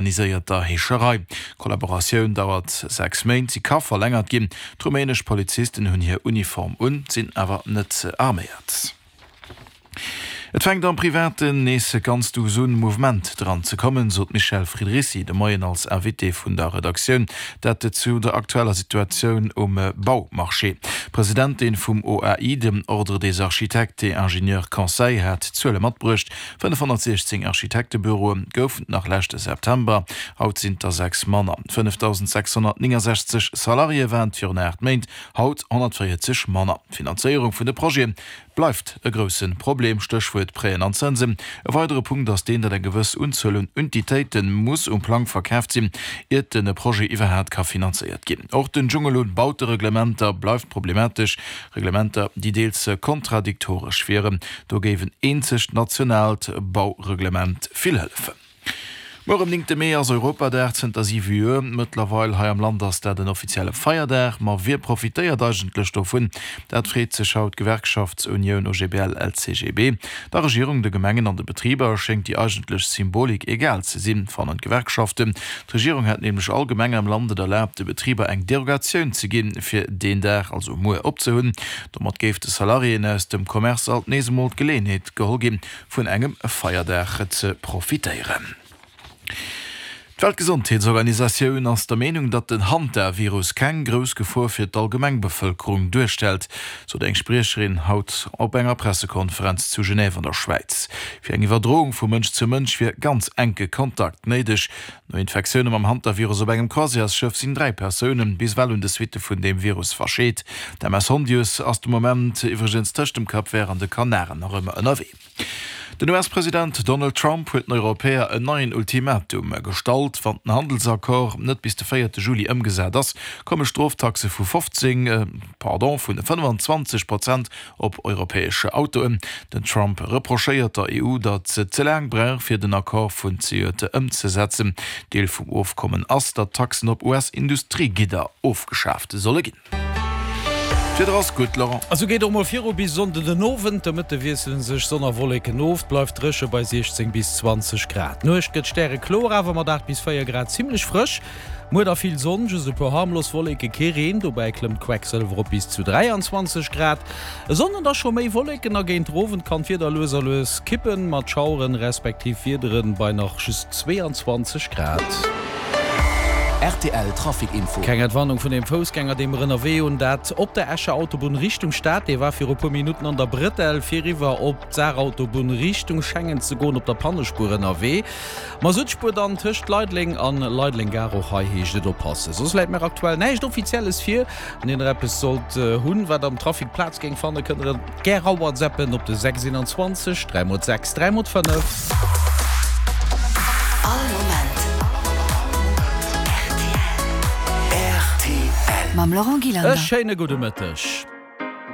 Organiséierter Heescherei. D'Kollaboratioun dauert 6 Méint, si ka verlängert ginn. D'rumänesch Polizisten hunn hir Uniform un, sinn awer net arméiert. Et fänkt am Privaten nees ganz duuss un, Mouvement dran ze kommen, sot d'Michèle Friedrici de Moien als Invitée vun der Redaktioun. Dat zu der aktueller Situatioun um Baumarché. D'Presidentin vum OAI, dem Ordre des architectes et ingénieurs conseils, hat Zuele matbruecht, 516 Architektebüroe goufen et nach leschte September, haut sinn et der 6 manner. 5.669 Salariéë waren et virun 8 Méint, haut 140 manner. D'Finanzéierung vun de Projete bleift e grousse Problem, Stéchwuert Prêten an Zënsen. E weidere Punkt ass deen, datt eng gewëss Unzuel un Untitéite muss um Plang verkaaft sinn, iert de Projet iwwerhaat ka finanzéiert ginn. Och den Dschungel un Bautereglementer bleift problematesch. Reglementer, déi deels kontradiktoresch wieren. Do géif en eenzegt nationaalt Baureglement vill hëllefen. Muer um néngte Mee ass Europadag, zënter 7 Joer mëttlerweil. Hei am Land ass dat en offizielle Feierdag. Ma wie profitéiert eigentlech dovun? Dat freet sech haut d'Gewerkschaftsunioun OGBL-LCGB. Der Regierung, de Gemengen an de Betriber schéngt déi eigentlech Symbolik egal ze sinn, fannen d'Gewerkschaften. D'Regierung hätt nämlech all Gemeng am Land et erlaabt, de Betriber eng Derogatioun ze ginn, fir deen Dag, also muer, opzehunn. Domat géif de Salariéen aus dem Commerce alt nees emol d'Geleeënheet geholl ginn, vun engem Feierdag ze profitéieren. D'Weltgesondheetsorganisatioun ass der Meenung, datt den Hantavirus keng grouss Gefor fir d'Allgemengbevëlkerung duerstellt, sot eng Spriecherin haut op enger Pressekonferenz zu Genève an der Schwäiz. Fir eng Iwwerdroung vu Mënsch zu Mënsch wier ganz enke Kontakt néideg. No Infektioune mam Hantavirus op engem Croisièresschëff sinn 3 Persoune bis ewell un de Suitte vun deem Virus verscheet. D'MS Hondius ass de Moment iwwregens tëscht dem Cap Vert an de Kanaren nach ëmmer ënnerwee. Den US-President Donald Trump huet den Europäer en neien Ultimatum gestallt. Wann den Handelsaccord net bis de véierte Juli ëmgesat ass, komme Stroftaxe vu 15, pardon, vun 25 Prozent op europäesch Autoen. Den Trump reprochéiert der EU, datt se ze laang brauch, fir den Accord vun zejoert ëmzesetzen. Deel vum Ofkommen ass, datt Taxen op US-Industriegidder ofgeschaaft solle ginn. D'Wieder ass gutt, Laurent. A sou geet och mol viru bis Sonnden den Owend. De Mëtte wiessele sech Sonn a Wolleken of, 't bleift dréche bei 16 bis 20 Grad. D'Nuecht gëtt stärekloer, awer mat 8 bis 4 Grad zimmlech frësch. Muer da vill Sonn, just e puer harmlos Wolleke, kee Reen, dobäi klëmmt d'Quecksëlwer op bis zu 23 Grad. E Sonnden da scho méi Wolleken a géint den Owend kann d'Wieder lues a lues kippen, mat Schaueren respektiv Wiederen bei nach just 22 Grad. Rtl Trafic Info. Keng Entwarnung vun deem Foussgänger, dee mer ënnerwee hunn. Dat op der Escher Autobunn Richtung Stad. Dee war viru puer Minutten an der Brëtell fir eriwwer op d'Saarautobunn Richtung Schengen ze goen, op der Pannespuer ënnerwee. Masuttspuer dann tëscht Leideleng an Leideleng Gare. Och hei heescht et oppassen. Soss läit mir aktuell näischt Offizielles vir. Wann dir nach eppes sollt hunn, wat am Trafic Plaz géing fannen, kënnt der et gär rawhatsappen op de 6 21 3 x 6 3 x 5. All Moment rtl. Mam Laurent E Gillander. schéine gudde Mëtteg.